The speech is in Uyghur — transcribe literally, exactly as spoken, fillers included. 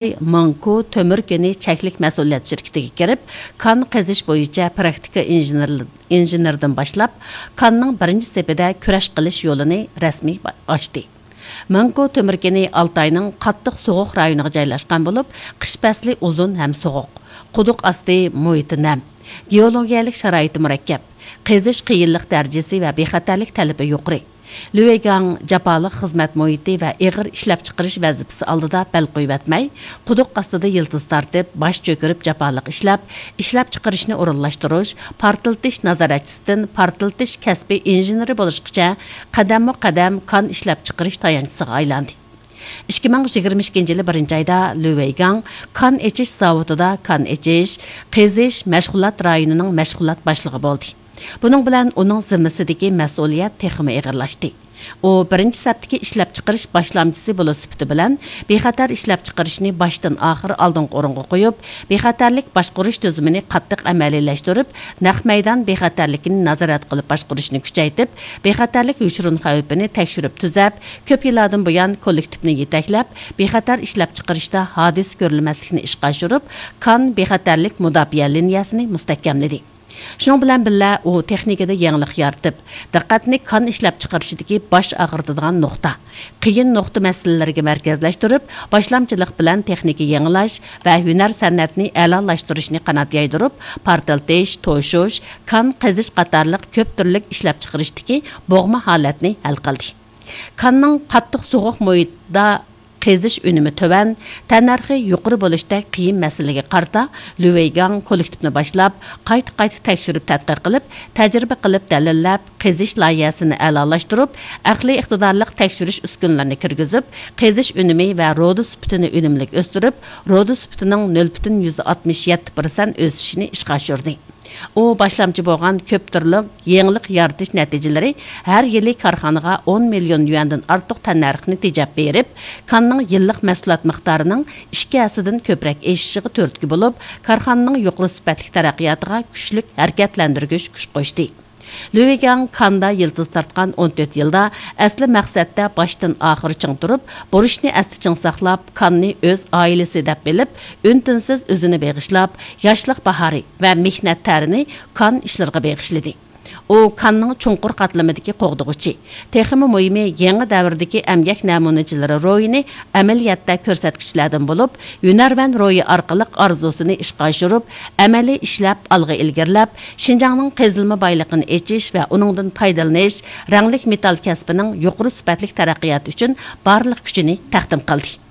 مانكو تۆمۈر كېنى چەكلىك مەسئۇلىيەت شىركىتىگە كىرىپ، كان قېزىش بويىچە پراكتىكا ئىنژېنېر-، ئىنژېنېردىن باشلاپ، كاننىڭ بىرىنچى سېپىدە كۈرەش قىلىش يولىنى رەسمىي با-، ئاچتى. مانكو تۆمۈر كېنى ئالتاينىڭ قاتتىق سوغۇق رايونىغا جايلاشقان بولۇپ، قىش پەسلى ئۇزۇن ھەم سوغۇق، قۇدۇق ئاستى مۇھىتى نەم، گېئولوگىيەلىك شارائىتى مۇرەككەپ، قېزىش قىيىنلىق دەرىجىسى ۋە بىخەتەرلىك تەلىپى يۇقىرى. لۈۋېيگاڭ جاپالىق خىزمەت مۇھىتى ۋە ئېغىر ئىشلەپچىقىرىش ۋەزىپىسى ئالدىدا بەل قويۇۋەتمەي، قۇدۇق ئاستىدا يىلتىز تارتىپ، باش چۆكۈرۈپ جاپالىق ئىشلەپ، ئىشلەپچىقىرىشنى ئورۇنلاشتۇرۇش، پارتلىتىش نازارەتچىسىدىن پارتلىتىش كەسپىي ئىنژېنېرى بولۇشقىچە قەدەممۇ قەدەم كان ئىشلەپچىقىرىش تايانچىسىغا ئايلاندى. ئىككى مىڭ يىگىرمە ئىككىنچى يىلى بىرىنچى ئايدا لۈۋېيگاڭ كان ئېچىش زاۋۇتىدا كان ئېچىش، قېزىش، مەشغۇلات رايونىنىڭ مەشغۇلات باشلىقى بولدى. بۇنىڭ بىلەن ئۇنىڭ زىممىسىدىكى مەسئۇلىيەت تېخىمۇ ئېغىرلاشتى. ئۇ بىرىنچى سەپتىكى ئىشلەپچىقىرىش باشلامچىسى بولۇش سۈپىتى بىلەن بىخەتەر ئىشلەپچىقىرىشنى باشتىن ئاخىر ئالدىنقى ئورۇنغا قويۇپ، بىخەتەرلىك باشقۇرۇش تۈزۈمىنى قاتتىق ئەمەلىيلەشتۈرۈپ، نەق مەيدان بىخەتەرلىكىنى نازارەت قىلىپ باشقۇرۇشنى كۈچەيتىپ، بىخەتەرلىك يوشۇرۇن خەۋپىنى تەكشۈرۈپ تۈزەپ، كۆپ يىللاردىن بۇيان كوللېكتىپنى يېتەكلەپ، بىخەتەر ئىشلەپچىقىرىشتا ھادىسە كۆرۈلمەسلىكنى ئىشقا ئاشۇرۇپ، كان بىخەتەرلىك مۇداپىئە لىنىيەسىنى مۇستەھكەملىدى. شۇنىڭ بىلەن بىللە، ئۇ تېخنىكىدا يېڭىلىق يارىتىپ، دىققەتنى كان ئىشلەپچىقىرىشىدىكى باش ئاغرىتىدىغان نۇقتا، قىيىن نۇقتا مەسىلىلىرىگە مەركەزلەشتۈرۈپ، باشلامچىلىق بىلەن تېخنىكا يېڭىلاش ۋە ھۈنەر سەنئەتنى ئەلالاشتۇرۇشنى قانات يايدۇرۇپ، پارتلىتىش، توشۇش، كان قېزىش قاتارلىق كۆپ تۈرلۈك ئىشلەپچىقىرىشتىكى بوغما ھالەتنى ھەل قىلدى. كاننىڭ قاتتىق سوغۇق مۇھىتتا قېزىش ئۈنۈمى تۆۋەن، تەننەرخى يۇقىرى بولۇشتەك قىيىن مەسىلىگە قارىتا، لۈۋېيگاڭ كوللېكتىپنى باشلاپ، قايتا-قايتا تەكشۈرۈپ تەتقىق قىلىپ، تەجرىبە قىلىپ دەلىللەپ، قېزىش لايىھەسىنى ئەلالاشتۇرۇپ، ئەقلىي ئىقتىدارلىق تەكشۈرۈش ئۈسكۈنىلىرىنى كىرگۈزۈپ، قېزىش ئۈنۈمى ۋە رۇدا سۈپىتىنى ئۈنۈملۈك ئۆستۈرۈپ، رۇدا سۈپىتىنىڭ نۆل پۈتۈن يۈزدە ئاتمىش يەتتە پىرسەنت ئۆسۈشىنى ئىشقا ئاشۇردى. ئۇ باشلامچى بولغان كۆپ تۈرلۈك يېڭىلىق يارىتىش نەتىجىلىرى ھەر يىلى كارخانىغا ئون مىليون يۈەندىن ئارتۇق تەننەرخنى تېجەپ بېرىپ، كاننىڭ يىللىق مەھسۇلات مىقدارىنىڭ ئىككى ھەسسىدىن كۆپرەك ئېشىشىغا تۈرتكە بولۇپ، كارخانىنىڭ يۇقىرى سۈپەتلىك تەرەققىياتىغا كۈچلۈك ھەرىكەتلەندۈرگۈچ كۈچ قوشتى. لۈۋېيگاڭ كاندا يىلتىز تارتقان ئون تۆت يىلدا ئەسلى مەقسەتتە باشتىن ئاخىر چىڭ تۇرۇپ، بۇرچنى ئەستە چىڭ ساقلاپ، كاننى ئۆز ئائىلىسى دەپ بىلىپ، ئۈن-تىنسىز ئۆزىنى بېغىشلاپ، ياشلىق باھارى ۋە مېھنەت تەرىنى كان ئىشلىرىغا بېغىشلىدى. ئۇ كاننىڭ چوڭقۇر قاتلىمىدىكى قوغدىغۇچى. تېخىمۇ مۇھىمى، يېڭى دەۋردىكى ئەمگەك نەمۇنىچىلىرى روھىنى ئەمەلىيەتتە كۆرسەتكۈچىلەردىن بولۇپ، ھۈنەرۋەن روھى ئارقىلىق ئارزۇسىنى ئىشقا ئاشۇرۇپ، ئەمەلىي ئىشلەپ ئالغا ئىلگىرىلەپ، شىنجاڭنىڭ قېزىلما بايلىقىنى ئېچىش ۋە ئۇنىڭدىن پايدىلىنىش، رەڭلىك مېتال كەسپىنىڭ يۇقىرى سۈپەتلىك تەرەققىياتى ئۈچۈن بارلىق كۈچىنى تەقدىم قىلدى.